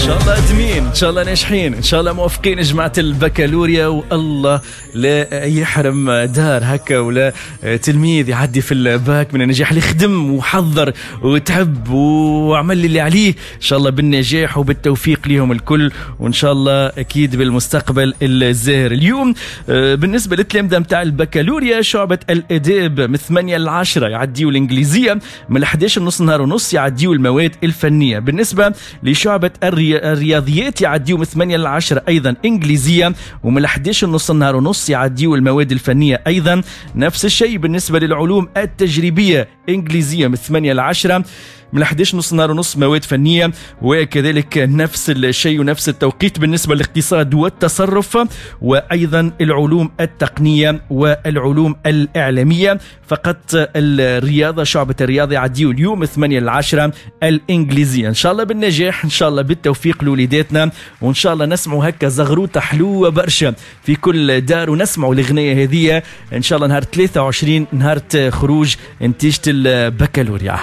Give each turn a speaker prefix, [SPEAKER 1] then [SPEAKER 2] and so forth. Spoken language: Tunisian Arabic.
[SPEAKER 1] شاء الله ادمين، ان شاء الله ناجحين، ان شاء الله موفقين جماعة البكالوريا، والله لا يحرم دار هكا ولا تلميذ يعدي في الباك من النجاح، اللي خدم وحضر وتعب وعمل اللي عليه، ان شاء الله بالنجاح وبالتوفيق ليهم الكل، وان شاء الله اكيد بالمستقبل الزاهر. اليوم بالنسبة للتلامذه نتاع البكالوريا، شعبه الاداب من 8 ل 10 يعديوا الانجليزيه، من 11 نص نهار ونص يعديوا المواد الفنيه. بالنسبة لشعبه الرياضيات يعديوا من 8 ل 10 ايضا انجليزيه، ومن 11 نص النهار ونص يعديوا المواد الفنية ايضا. نفس الشيء بالنسبة للعلوم التجريبيه، انجليزية من 8 ل 10، من 11 نص نهار ونص مواد فنيه، وكذلك نفس الشيء ونفس التوقيت بالنسبة للاقتصاد والتصرف، وايضا العلوم التقنية والعلوم الاعلاميه. فقط الرياضه، شعبه الرياضة يعديوا اليوم 8 ل 10 الانجليزيه. ان شاء الله بالنجاح، ان شاء الله بالتوفيق لوليداتنا، وان شاء الله نسمعوا هكا زغروطه حلوة برشا في كل دار، ونسمعوا الاغنية هذه ان شاء الله نهار 23، نهار خروج نتيجة البكالوريا.